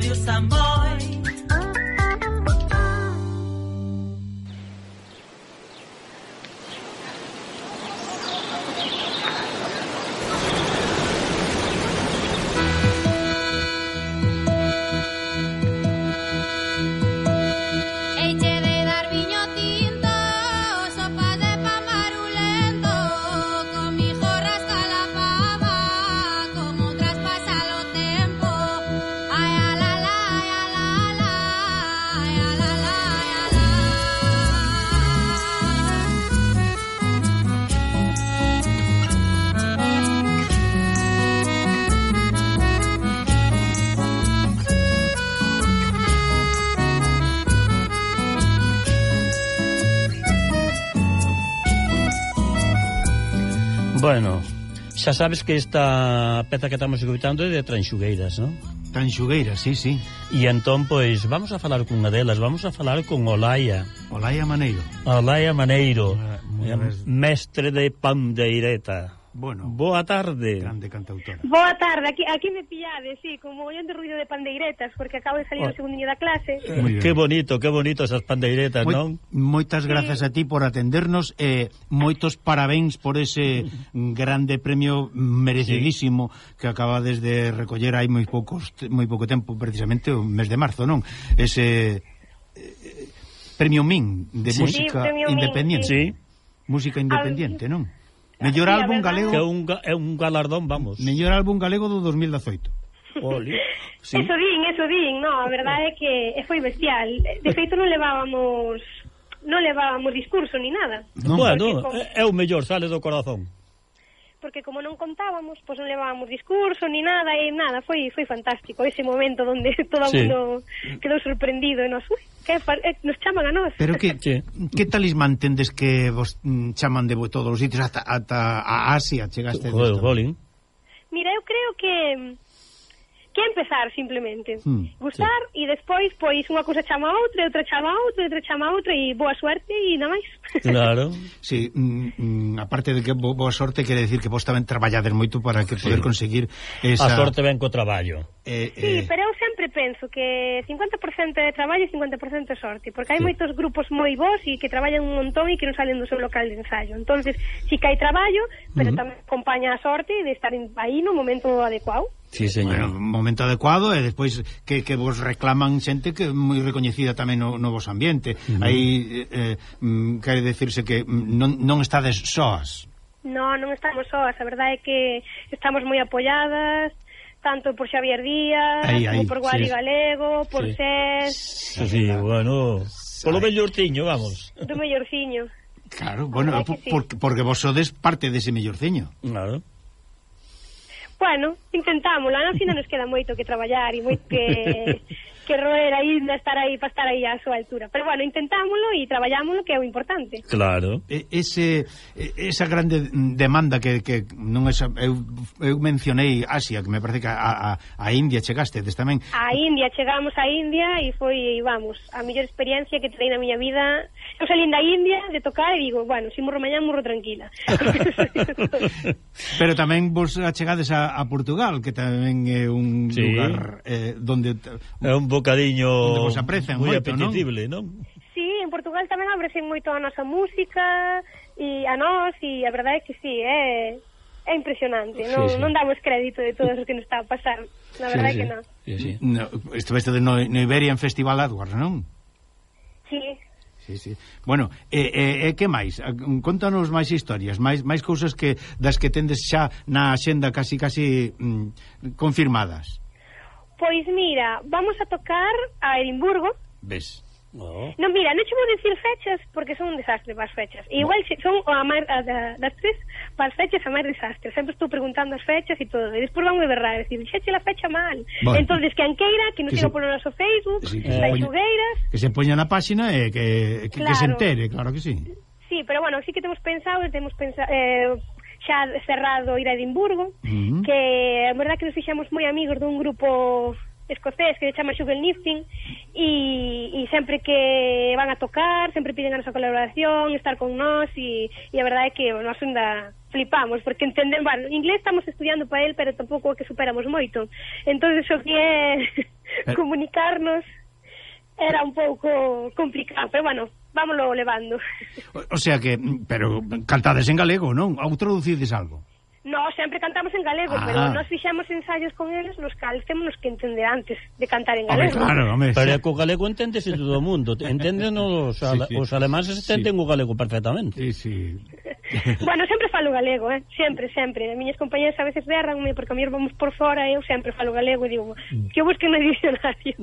Radio Samboy. Bueno, xa sabes que esta peza que estamos escutando é de Tranxugueiras, non? Tranxugueiras, sí, sí. E entón, pois, vamos a falar con unha delas, vamos a falar con Olaia. Olaia Maneiro. Olaia Maneiro, mestre de pandeireta. Bueno, boa tarde. Grande cantautora. Boa tarde, aquí me pillades, sí, con mogollón de ruido de pandeiretas, porque acabo de salir o segundinho da clase. Que bonito esas pandeiretas, non? Moitas grazas a ti por atendernos e moitos parabéns por ese grande premio merecidísimo que acabades de recoller hai moi pouco tempo, precisamente o mes de marzo, non? Ese premio MIN de música independiente. Sí. Música independiente, non? Mellor álbum galego. Que é un galardón, vamos. Mellor álbum galego do 2018. Oli. Sí. Eso din, no, a verdade é que foi bestial. De feito non levábamos discurso ni nada. No. Bueno, é o mellor, sale do corazón. Porque como non contábamos, pois non levábamos discurso ni nada, e nada, foi fantástico ese momento onde todo o mundo quedou sorprendido e nos, nos chaman a nós. Pero que talismán tendes que vos chaman de todos os sitios ata a Asia chegaste? Mira, eu creo que empezar simplemente gustar e despois pois unha cousa chama a outra, outra chama a outra, outra chama a outra e boa suerte e nada máis. Claro. Sí, aparte de que boa sorte quere decir que vos tamén traballades moito para que poder conseguir esa... A sorte ven co traballo. Sí, pero eu sempre penso que 50% de traballo e 50% de sorte, porque hai moitos grupos moi bons e que traballan un montón e que non salen do seu local de ensayo. Entonces, sí que hai traballo, pero tamén acompaña a sorte de estar aí no momento adecuado. Sí, señor. Bueno, momento adecuado e despois que vos reclaman xente que é moi recoñecida tamén no vos ambiente. Aí quere decirse que non estades soas. Non estamos soas, a verdade é que estamos moi apoiadas, tanto por Xavier Díaz, como por Guali Galego, por SES. Sí, bueno, polo mellorciño, vamos. Do mellorciño. Claro, bueno, porque vos sodes parte dese mellorciño. Claro. Bueno, intentámoslo, a fin nos queda moito que traballar e moito que roer aí, estar aí para estar aí á súa altura. Pero bueno, intentámoslo e traballámoslo, que é o importante. Claro. Esa grande demanda que non é, eu mencionei Asia, que me parece que a India chegastes tamén. A India, chegamos a India e foi, vamos, a mellor experiencia que trei na miña vida. Eu salín da India de tocar e digo, bueno, se morro mañá, morro tranquila. Pero tamén vos achegades a Portugal, que tamén é un lugar donde é un bocadiño moi apetecible, non? Sí, en Portugal tamén abresen moito a nosa música e a nós, e a verdade é que sí, é impresionante, non damos crédito de todo o que nos está a pasar, na verdade que non. Estiveste no Iberian Festival Adwars, non? Sí. Sí. Bueno, que máis? Contanos máis historias, máis cousas das que tendes xa na axenda casi confirmadas. Pois mira, vamos a tocar a Edimburgo. Ves? Non, mira, non che vou dicir fechas porque son un desastre para as fechas. Igual son das tres para as fechas a máis desastre. Sempre estou preguntando as fechas e todo. E despois van a berrar e dicir, xeche la fecha mal. Bueno. Entonces, quen queira, que nos siga polo noso Facebook, Tranxugueiras. Que se poña na páxina e que se entere, claro que sí. Sí, pero bueno, sí que temos pensado xa cerrado ir a Edimburgo, que a verdad que nos fixamos moi amigos dun grupo escocés que se chama Sugarlifting e sempre que van a tocar sempre piden a nosa colaboración, estar con nós e a verdade é que nós ainda flipamos porque entenden, bueno, inglés estamos estudiando para él pero tampouco que superamos moito, entonces o que é comunicarnos era un pouco complicado, pero bueno, vámoslo levando. O sea que, pero cantades en galego, non? Ou traducides algo? No, sempre cantamos en galego, pero nós fixemos ensaios con eles nos cales temos que entender antes de cantar en galego. Claro, pero co galego enténdese todo o mundo. Entenden os alemáns entenden o galego perfectamente. Sí. Bueno, sempre falo galego, sempre. As miñas compañeras a veces berranme porque a mí vamos por fora e eu sempre falo galego e digo que eu busque no diccionario.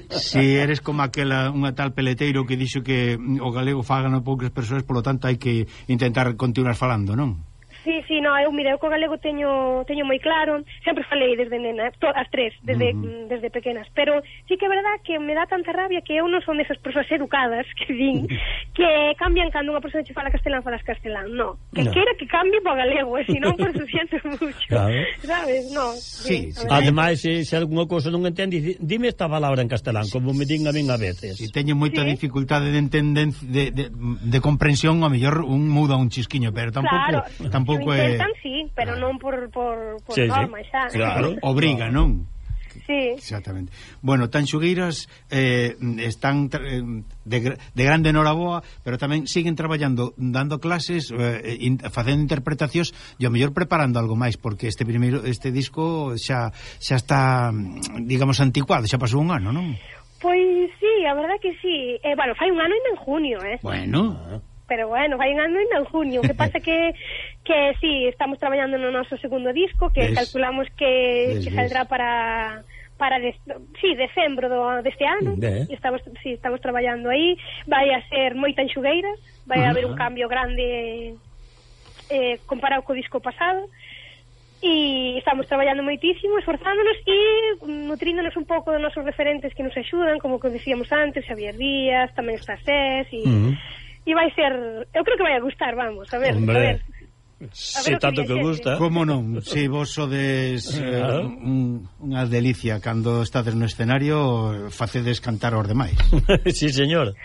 Si eres como aquela, unha tal peleteiro que dixo que o galego fagan poucas persoas, polo tanto hai que intentar continuar falando, non? Sí, no, eu co galego teño moi claro, sempre falei desde nena, as tres, desde pequenas, pero sí que é verdad que me dá tanta rabia que eu non son desas persoas educadas que din que cambian cando unha persoa che fala castelán, falas castelán, no, que queira que cambie po galego, se non, por eso siento mucho, claro. ¿Sabes? No. Sí. Ademais, se algunha cousa non entende, dime esta palabra en castelán, como me din a min a veces. Si teño moita dificultade de entender, de comprensión, a mellor un muda un chisquiño, pero tampouco intentan, sí, pero non por norma, xa. Claro, obriga, non? Sí. Exactamente. Bueno, Tanxugueiras están de grande noraboa, pero tamén siguen traballando, dando clases, facendo interpretacións e ao mellor preparando algo máis, porque este disco xa está, digamos, anticuado, xa pasou un ano, non? Pois sí, a verdad que sí. Bueno, fai un ano ainda en junio, Bueno. Pero bueno, vai en ano en junio. O que pasa que sí, estamos traballando no noso segundo disco, que calculamos que saldrá para decembro deste ano. E estamos traballando aí. Vai a ser moi Tanxugueiras, vai haber un cambio grande comparado co disco pasado. E estamos traballando moitísimo, esforzándonos e nutríndonos un pouco dos nosos referentes que nos axudan, como que dicíamos antes, Xavier Díaz, tamén está Sés e vai ser, eu creo que vai a gustar, vamos, a ver. Se tanto que gusta. Como non? Se vos sodes unha delicia cando estades no escenario, facedes cantar aos demais. Sí, señor.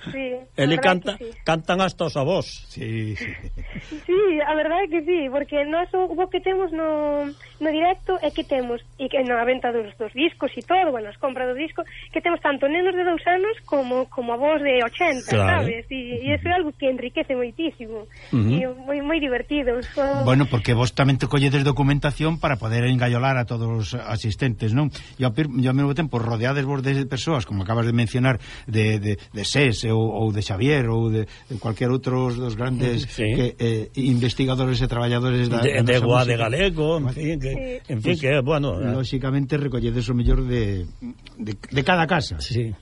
Sí, ele cantan hasta os avós. Sí. Sí, a verdade é que sí, porque nós o que temos no directo é que temos, e que na venta dos discos e todo, bueno, as compras do disco, que temos tanto nenos de 2 anos como avós de 80, claro. Sabes? E iso é algo que enriquece moitísimo. E moi divertido. Bueno, porque vos tamén te colledes documentación para poder engallolar a todos os asistentes, non? E ao mesmo tempo rodeades vos de persoas, como acabas de mencionar, de SES ou de Xavier ou de cualquier outro dos grandes investigadores e traballadores de Guade Galego, en fin, que bueno, lóxicamente recolledes o mellor de cada casa. Sí,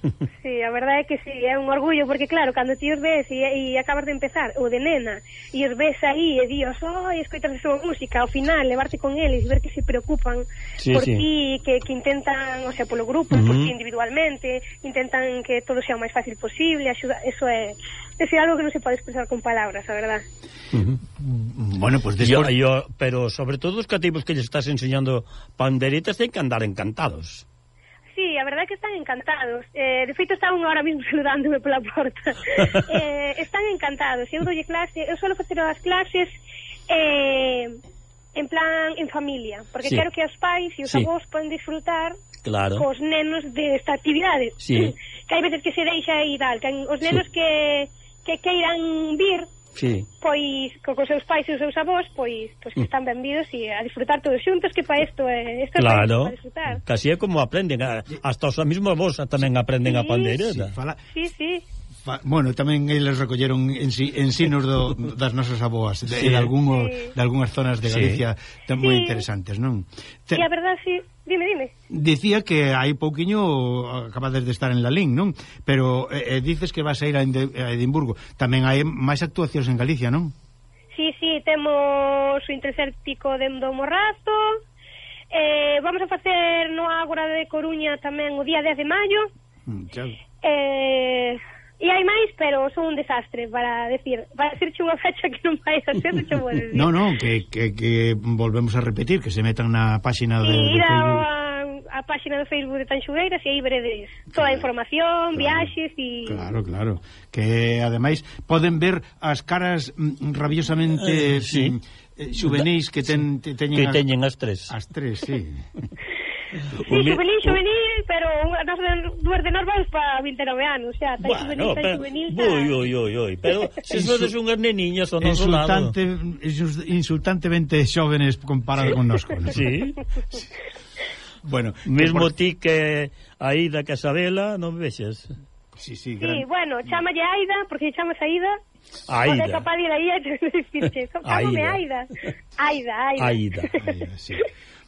a verdade é que sí, é un orgullo, porque claro, cando ti os ves e acabas de empezar, ou de nena, e os ves aí e dios, escoitas a súa música, ao final levarte con eles e ver que se preocupan por ti, que intentan, o sea, polo grupo, por ti individualmente, intentan que todo sea o máis fácil posible, eso é algo que non se pode expresar con palabras, a verdad. Bueno, pues después... pero sobre todo os cativos que lles estás enseñando panderitas ten que andar encantados. Sí, a verdade é que están encantados. De feito, estaban ahora mismo saludándome pola porta. Están encantados. Eu doulle clase, eu suelo facer as clases en plan, en familia, porque quero que os pais e os avós poden disfrutar cos nenos desta actividade. Que hai veces que se deixa e tal, que os nenos que queiran vir, pois cos seus pais e os seus avós, pois que están benvidos e a disfrutar todos xuntos, que para isto é para disfrutar. Casi é como aprenden, hasta os mesmos avós tamén aprenden a pandeireta. Sí. Bueno, tamén eles recolleron ensinos das nosas aboas de algunhas zonas de Galicia moi interesantes, non? E a verdade, sí. Dime. Dicía que hai pouquiño acabades de estar en Lalín, non? Pero dices que vas a ir a Edimburgo. Tamén hai máis actuacións en Galicia, non? Sí, temos o Intercéptico do Morrazo. Vamos a facer no Ágora de Coruña tamén o día 10 de maio. E hai máis, pero son un desastre para decirche unha fecha que non vai a ser, che vou decir. Non, que volvemos a repetir, que se metan na páxina de Facebook. A páxina do Facebook de Tanxugueiras e aí veredes toda a información, viaxes e... Claro, que ademais poden ver as caras rabiosamente juvenis que teñen as tres. As tres, sí. Sí, juvenil, pero dúas de nós vamos para 29 anos, xa, tan juvenil. Pero se sodes unhas neniñas ao noso lado. Insultantemente xóvenes comparado con nosco. Sí. Bueno, mesmo ti que Aida Casabela, non vexes? Sí, bueno, chámalle Aida, porque chamas Aida. Aida. Pode capaz de ir aí e dicirche, chámame Aida. Aida, sí.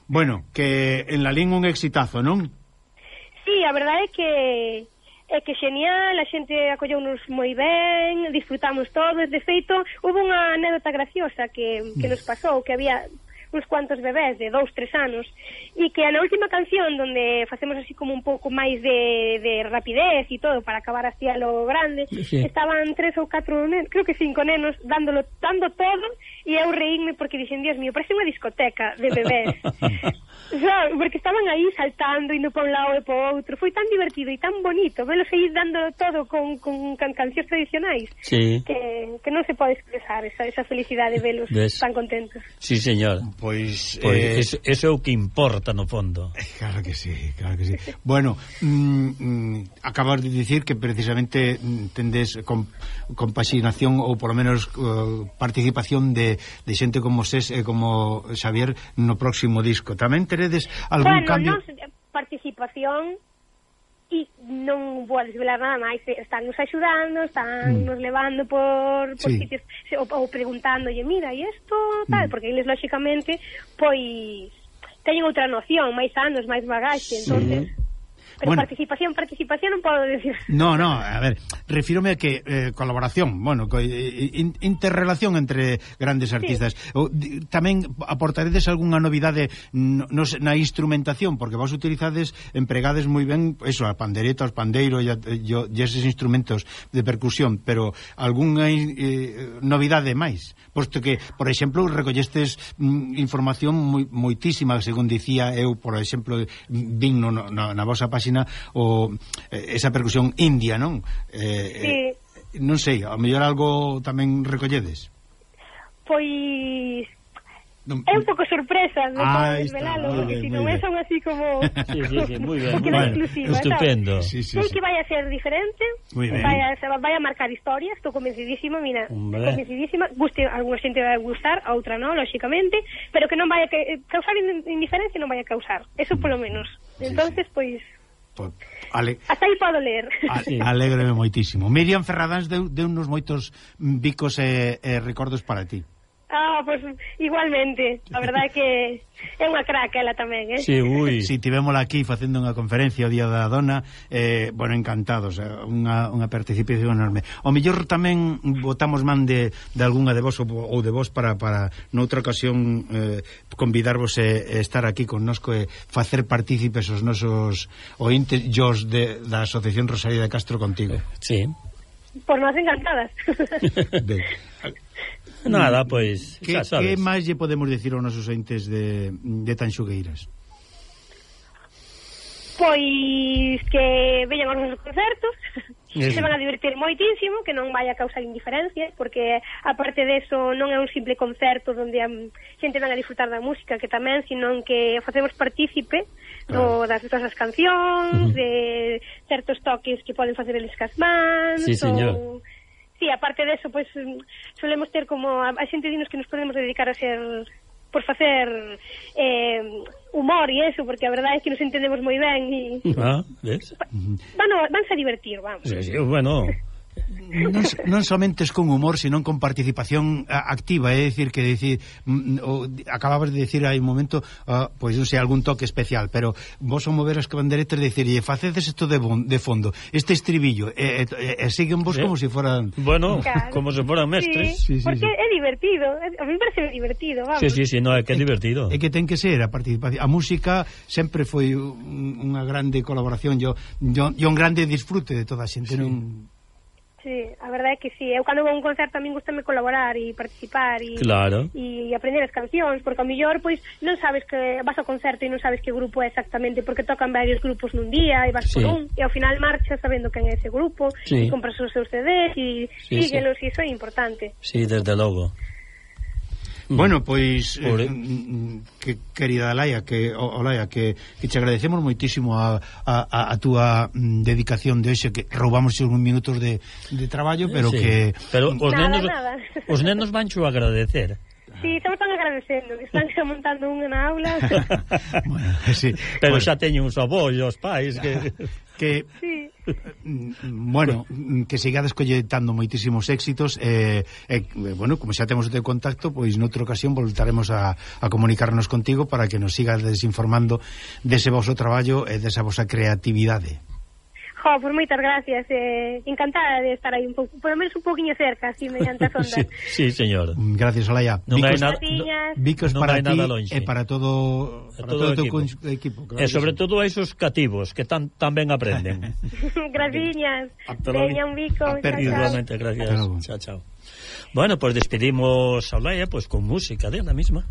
Bueno, que en la lín un exitazo, non? Sí, a verdade é que genial, a xente acolleunos moi ben, disfrutamos todos, de feito, houve unha anécdota graciosa que nos pasou, que había uns cuantos bebés de 2-3 anos e que na última canción donde facemos así como un pouco máis de rapidez e todo para acabar así a lo grande, estaban 3 ou 4 nenos, creo que 5 nenos dando todo e eu reínme porque dixen, Dios mío, parece unha discoteca de bebés. Porque estaban aí saltando, indo para un lado e para outro, foi tan divertido e tan bonito velos aí dándolo todo con cancións tradicionais, que non se pode expresar esa felicidade de velos tan contentos. Sí, señor. Pois eso é o que importa no fondo. Claro que sí. Bueno, acabas de dicir que precisamente tendes compaxinación ou polo menos participación de xente como Sés e como Xavier no próximo disco. Tamén teredes algún cambio? Bueno, participación e non vou desvelar nada máis, están nos axudando, están nos levando por sitios ou preguntándolle, mira, e isto tal, porque eles lóxicamente pois teñen outra noción, máis anos, máis bagaxe, entonces pero bueno, participación non podo decir. No, a ver, refírome a que colaboración, bueno, interrelación entre grandes artistas. Tamén aportaredes algunha novidade na instrumentación, porque vos utilizades, empregades moi ben eso, a pandereta, os pandeiros e eses instrumentos de percusión, pero algunha novidade máis? Posto que, por exemplo, recollestes información moitísima, según dicía eu, por exemplo, vin na vosa página o esa percusión india, non? Sí. Non sei, ao mellor algo tamén recolledes? Pois é un pouco sorpresa, non podo desvelalo, porque se non son así como sí, moi ben, exclusiva, estupendo. Sí. Que vai a ser diferente, vai a marcar historia, estou convencidísima, convencidísima, alguna xente vai gustar, a outra non, lóxicamente, pero que non vai a causar indiferencia, non vai a causar, eso polo menos. Entonces, pois hasta aí podo ler. Alégreme moitísimo. Miriam Ferradáns deu uns moitos bicos e recordos para ti. Pois igualmente, a verdade é que é unha crack ela tamén, Sí, Si tivémola aquí facendo unha conferencia o Día da Dona, bueno, encantados, unha participación enorme. O mellor tamén botamos man de algunha de vos ou de vos para noutra ocasión convidarvos e estar aquí connosco e facer partícipes os nosos ointes da Asociación Rosalía de Castro contigo. Sí. Por nós encantadas. Nada, pois, xa sabes. Que máis lle podemos dicir aos nosos entes de Tanxugueiras? Pois que veñan aos nosos concertos, se van a divertir moitísimo, que non vai a causar indiferencia, porque aparte deso non é un simple concerto onde a xente van a disfrutar da música, que tamén, senón que facemos partícipe das nosas cancións, de certos toques que poden facer eles cas mans. Sí, señor. Sí, aparte deso, pois solemos ter como a xente dinos que nos podemos dedicar a ser por facer humor e eso, porque a verdade é que nos entendemos moi ben e ves? Vanse a divertir, vamos. Sí, bueno. Non somente con humor, senón con participación activa, é dicir que acababas de decir hai un momento, pois non sei, algún toque especial, pero vos o mover as banderetas de dicir, facedes isto de fondo, este estribillo, e siguen vos como se foran... Bueno, claro, como se foran mestres. Sí, porque é divertido, a mí me parece divertido, vamos. Sí, no, é que é divertido. É que ten que ser a participación. A música sempre foi unha grande colaboración, e un grande disfrute de toda a xente, non... Sí, a verdade é que sí. Eu cando vou a un concerto a min gustame colaborar e participar e aprender as cancións, porque ao mellor pois non sabes que vas ao concerto e non sabes que grupo é exactamente, porque tocan varios grupos nun día e vas por un, e ao final marchas sabendo quen é ese grupo, e compras os seus CDs e síguelos, e iso é importante. Sí, desde logo. Bueno, pois que querida Olaia, que te agradecemos moitísimo a túa dedicación de hoxe, que roubamos uns minutos de traballo, pero que os nenos vancho a agradecer. Sí, estamos tan agradecendo que están montando unha na aula. Bueno, sí. Pero xa teñen uns avós e os pais que sí. Bueno, que sigades colletando moitísimos éxitos bueno, como xa temos o teu contacto, pois noutra ocasión voltaremos a comunicarnos contigo para que nos sigas desinformando dese voso traballo e desa vosa creatividade. Pues moitas gracias, encantada de estar aí un pouco, por lo menos un pouquinho cerca, así mediante as ondas. Sí, señor. Gracias, Olaia. Vicos para ti e para todo o teu equipo. E sobre todo a esos cativos que tan ben aprenden. Graciñas. Veña un bico. Igualmente, gracias. Chao. Bueno, pues despedimos a Olaia con música de la misma.